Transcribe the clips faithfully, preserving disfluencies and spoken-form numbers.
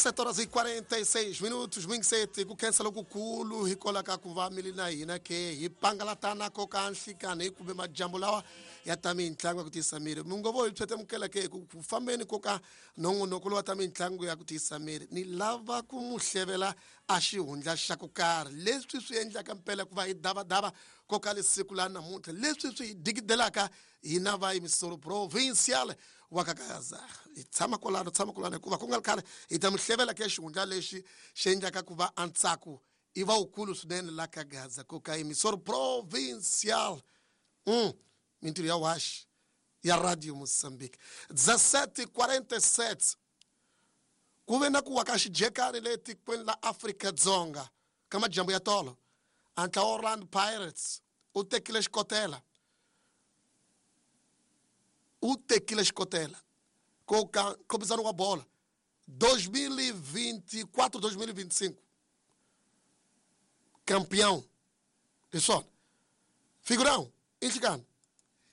Sete horas e quarenta e seis minutos, mingiseti ku khensa lokukulu hikwalaho ka ku va mi ri na hina ke hi pangalatana ko ka nhlikani kumbe majambu lawa ya ta mitlangu ya ku tiyisa miri. Mi ngo vo hi phetemukela ke ku ku fambeni ko ka nongonoko lowa ta mitlangu ya ku tiyisa miri, ni lava ku mu hlevela a xihundla xa ku karhi leswi swi endlaka mpela ku va hi davadava ko ka lesiku la namuntlha, leswi swi hi dikidelaka hina va emisoro provincial wa ka Gaza. Hi tshama kwalano, tshama kwalano hikuva ku nga ri khale hi ta mi hlevela ke xihundla lexi xi endlaka ku va antsako i va wukulu swinene la ka Gaza ko ka emisoro provincial. Mm, mintirho ya washi ya Radio Mozambique. dezessete quarenta e sete ku ve na ku wa ka xijekani le tikweni la Afrika-Dzonga ka majambu ya tolo. A ntlawa Orlando Pirates u tekile xikotela, u tekile xikotela ko ka nkhopizano wa bola dois mil e vinte e quatro, dois mil e vinte e cinco. Campeão. Hi swona. Figurão, inhlikani.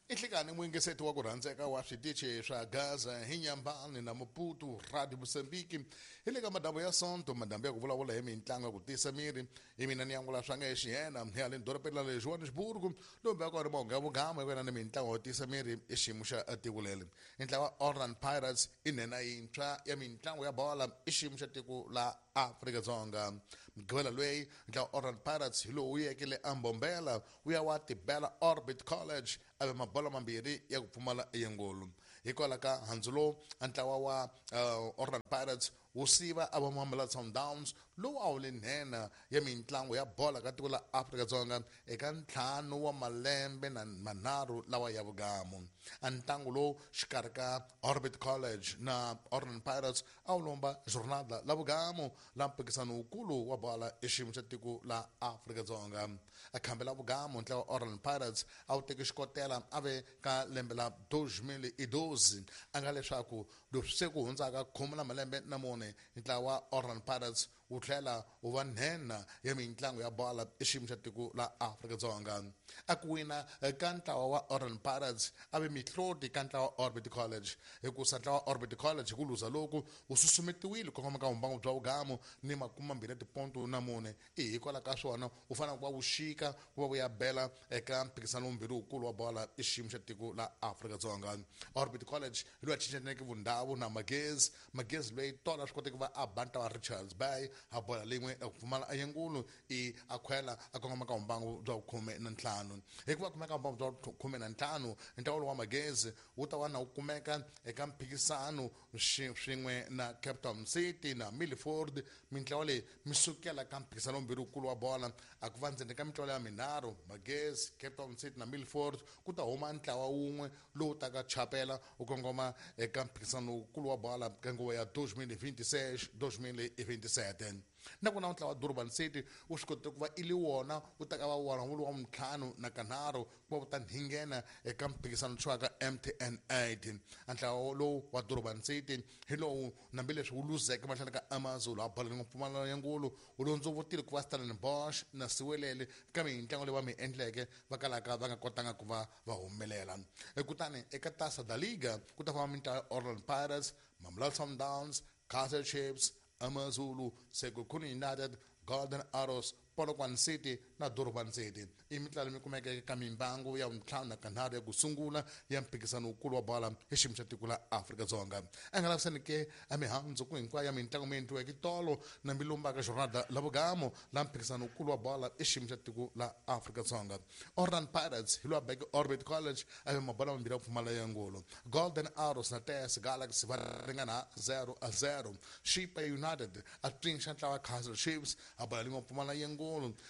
Inhlikani muyingiseti wa ku rhandzeka wa switichi swa Gaza hi Nyambani na Maputo Radio Mozambique. Hi le ka madambu ya Sonto, madambu ya ku vulavula hi mitlangu ya ku tiyisa miri. Hi mina ni angula swa nga xiyena hi haleni dorobeni ra le Johannesburg, lowu va ka ri mahungu ya vugama hi wena ni mitlangu yo tiyisa miri i xiyimo xa tiko leri. Ntlawa wa Orlando Pirates i nhenha yintshwa ya mitlangu ya bola i xiyimo xa tiko la Afrika-Dzonga. Mugqivela loyi ntlawa wa Orlando Pirates hi lowu wu yeke le Ambombela wu ya wa tibela Orbit College a ve mabolo mambirhi ya ku pfumala yingulu. Hikwalaho ka handzu lowu a ntlawa wa, uh, Orlando Pirates wu siva a va Mamelodi Sundowns lowu a wu le nhenha ya mitlangu ya bola ka tiko la Afrika-Dzonga eka ntlhanu wa malembe na manharhu lawa ya vugamu. A ntlangu lowu xikarhi ka Orbit College na Orlando Pirates a wu lomba jornada la vugamu la mphikizano wukulu wa bola i xiyimo xa tiko la Afrika-Dzonga. A khambe la vugamu ntlawa wa Orlando Pirates a wu teki xikotela a ve ka lembe la dois mil e doze, a nga leswaku leswi se ku hundzaka khume na malembe na mune ntlawa wa Orlando Pirates wu tlhela wu va nhenha ya mitlangu ya bola i xiyimo xa tiko la Afrika-Dzonga. A ku wina ka ntlawa wa Orlando Pirates a ve mihloti ka ntlawa wa Orbit College, hikusa ntlawa wa Orbit College hi ku luza loku wu susumetiwile ku kongoma ka vumbangu bya vugamu ni makume mambirhi ya tiponto na mune. I hikwalaho ka swona wu fanele ku va wu xika ku va wu ya bela eka mphikizano wumbirhi wukulu wa bola i xiyimo xa tiko la Afrika-Dzonga. Orbit College hi loyi a cincaneke vundhawu na Magezi. Magezi loyi tolo a swi koteki ku va a ba ntlawa wa Richards Bay a bola lin'we ya ku pfumala yingulu i a khwela a kongoma ka vumbangu bya khume na ntlhanu. Hikuva kumeka vumbangu bya khume na ntlhanu, ntlawa lowu wa Magezi wu ta va na wu kumeka eka mphikizano swin'we na Cape Town City na Milford. Mintlawa leyi mi sukela ka mphikizano wumbirhi wukulu wa bola a ku va ndzeni ka mintlawa ya minharhu, Magezi, Cape Town City na Milford, ku ta huma ntlawa wun'we lowu taka chapela wu kongoma eka mphikizano wukulu wa bola ka nguva ya dois mil e vinte e seis, dois mil e vinte e sete. Nakona ntlawa wa Durban City wu swi kotile ku va i li wona wu ta ka va wona wu ri wa ntlhanu na kanharhu ku va wu ta nghena eka mphikizano tshwaka M T N eight. A ntlawa lowu wa Durban City hi lowu hambileswi wu luzeke mahlweni ka AmaZulu a bola ni mpfumalano ya ngulu, wu londzovotile ku va Stellenbosch na Siwelele ka mitlangu leyi va mi endleke va kalaka va nga kotanga ku va va humelela. Kutani eka Taça da Liga ku ta famba mintlawa ya Orlando Pirates, Mamelodi Sundowns, Kaizer Chiefs, AmaZulu, Sekhukhune United, Golden Arrows, Polokwane City na Durban City. I mitlawa leyi kumekeke ka mimbangu ya ntlhanu na kanharhu ya ku sungula ya mphikizano wukulu wa bola hi xiyimo xa tiko la Afrika-Dzonga. A nga lavisani ke a mihandzu ku hinkwayo ya mitlangu mi endliweke tolo na milumbaka jornada la vugamo la mphikizano wukulu wa bola i xiyimo xa tiko la Afrika-Dzonga. Orlando Pirates hi lowa beke Orbit College a ve mabola mambirhi ya ku pfumala ya ngulu. Golden Arrows na T S Galaxy va ringana zero a zero. Chippa United a pfinxa ntlawa wa Kaizer Chiefs a bola lin'we pfumala ya ngulu.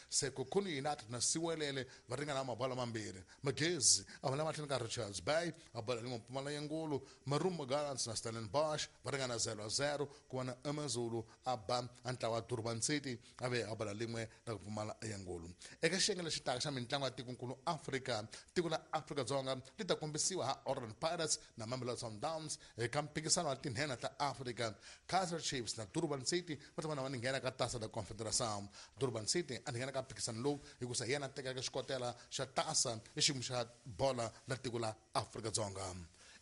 Sekhukhune United na Siwelele va ringana mabola mambirhi. Magezi a vula mahlweni ka Richards Bay a bola lin'we pfumala ya ngulu. Marumo Gallants na Stellenbosch va ringana zero a zero. Ku va na AmaZulu a ba a ntlawa wa Durban City a ve a bola lin'we ra ku pfumala ya ngulu. Eka xiyenge lexi taka xa mitlangu ya tikonkulu Afrika, tiko la Afrika-Dzonga li ta kombisiwa ha Orlando Pirates na Mamelodi Sundowns eka mphikizano wa tinhenha ta Afrika. Kaizer Chiefs na Durban City va ta va na va nghena ka Taça da Confederação. Durban City a nghena ka mphikizano lowu hikusa hi yena a tekaka xikotela xa Taça i xiyimo xa bola la tiko la Afrika-Dzonga.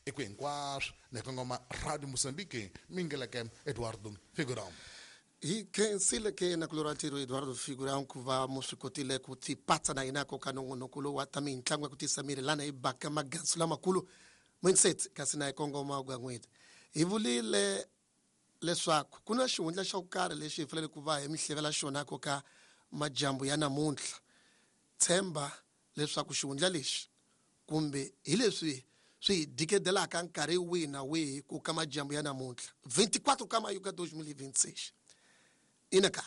I ku hinkwaswo ni kongoma Radio Mozambique mingeleke Eduardo Figurão. Hi khensile ke na kulora ntirho Eduardo Figurão ku va mu swi kotile ku tipatsa na hina ko ka nongonoko lowu wa ta mitlangu ya ku tisa miri lana hi baka magansu lamakulu mindset kasi na hi kongoma ku n'weti hi vulile leswaku ku na xihundla xo karhi lexi hi fanele ku va hi mihlevela xona ko ka majambu ya namuntlha tshemba leswaku xihundla lexi kumbe hi leswi swi dikedelaka nkarhi wihi na wihi ku ka majambu ya namuntlha vinte e quatro ka mayu ka dois mil e vinte e seis inaka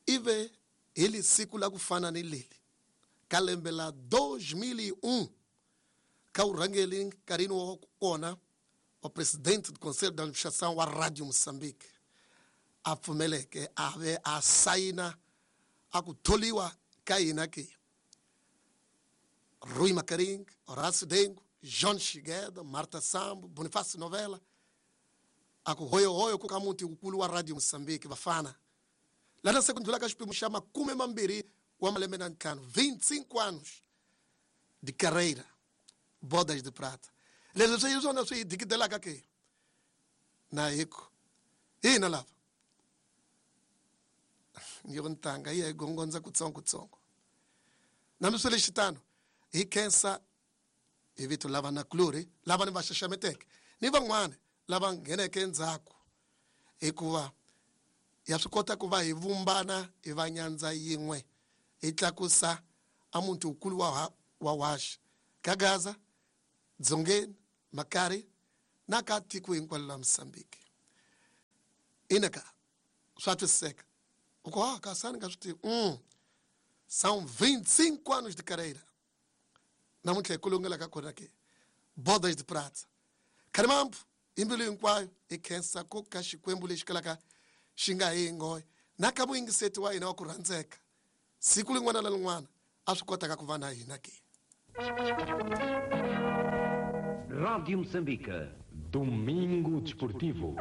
ive hi li siku la ku fana ni leli ka lembe la dois mil e um ka urhangeli nkarhini wa kona wa presidente do conselho de administração wa Radio Moçambique a pfumeleke a ve a sayina a ku tholiwa ka hina ke Rui Macaringue, Horácio Dengo, João Chigueda, Marta Sambo, Bonifácio Novela a ku hoyohoyo ku ka muti wukulu wa Radio Moçambique vafana lana se ku ndlula ka xiphemu xa makume mambirhi wa malembe na ntlhanu vinte e cinco anos de carreira, bodas de prata. Leswi swi hi swona swi hi dikidelaka ke na hi ku hina lava yo ntanga yi ya hi gongondza kutsongokutsongo nambi swi lexitano hi khensa hi vito lava nakulorhi lava ni va xaxameteke ni van'wana lava ngheneke endzhaku hikuva ya swi kota ku va hi vumbana hi va nyandza yin'we hi tlakusa a muti wukulu wa wa Waxa ka Gaza Dzongeni Makari na ka tiko hinkwalo la Mozambique ina ka swa twisiseka u ku ah kasi a ni nga swi tivi mm. São vinte e cinco anos de carreira namuntlha hi kulungela ka kona ke bodas de prata kharimambu hi mbilu hinkwayo hi khensa ku ka Xikwembu lexi kalaka xi nga hi nghohe na ka muyingiseti wa hina wa ku rhandzeka siku rin'wana na rin'wana a swi kotaka ku va na hina ke. Rádio Moçambique. Domingo Desportivo.